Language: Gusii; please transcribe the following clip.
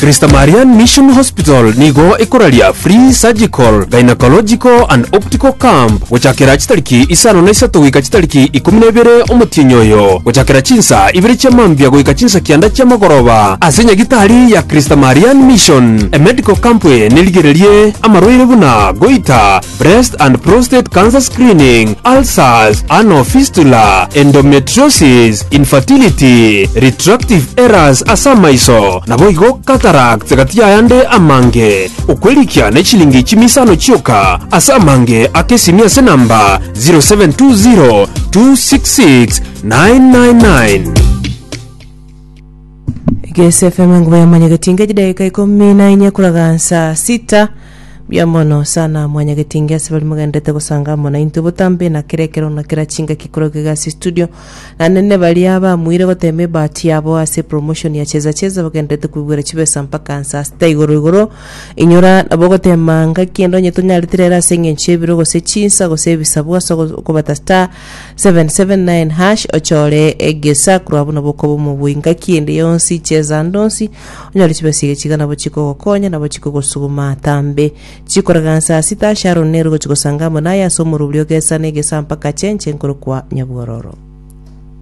Christa Marianne Mission Hospital nigo ekoraria free surgical, gynecological and optical camp gochakera chitariki isano na isato goika chitariki ikomi na ibere omotienyi oyo, gochakera chinsa ibere chia mambia goika chinsa kianda chia mogoroba ase nyagitari ya Christa Marianne Mission. Emedical camp eye nerigererie amarwaire buna goiter, breast and prostate cancer screening, ulcers, anal fistula, endometriosis, infertility, retractive errors ase amaiso, naboigo cataracts gati y'ayande amange. Okwerikia ne chilingi chimisano chioka ase amange ake esimi ase namba 0720 266 999. Gese FM enguba ya mwanyagetinge chidaika ikomi na inye kuraga saa sita mbuya mono sana mwanyagetinge ase bari mogenderete gosanga amo naintwe botambe na kera ekero na kera chingaki korwa iga ase studio naende ne baria bamuire gotema ebahati yabo ase promotion ya cheza cheza bagenderete koigwera chibesa mpaka saa sita igoro igoro inyora nabo ogotema ngaki ende onye tonyarete rero ase eng'encho y'ebiro gose chinsa gose ebisabu ase okobata star 779 hash ochore egesa korwa abwo nabo okoba omobui ngaki ende yonsi cheza ande onsi onyore chibesa iga chiga nabo chikogokonya nabo chikogosuguma atambe chikoraga nsa sita Sharon nere ogochi gosanga amo naye ase omorobori ogesa na egesa mpaka chenche nkorokwa nyabwororo.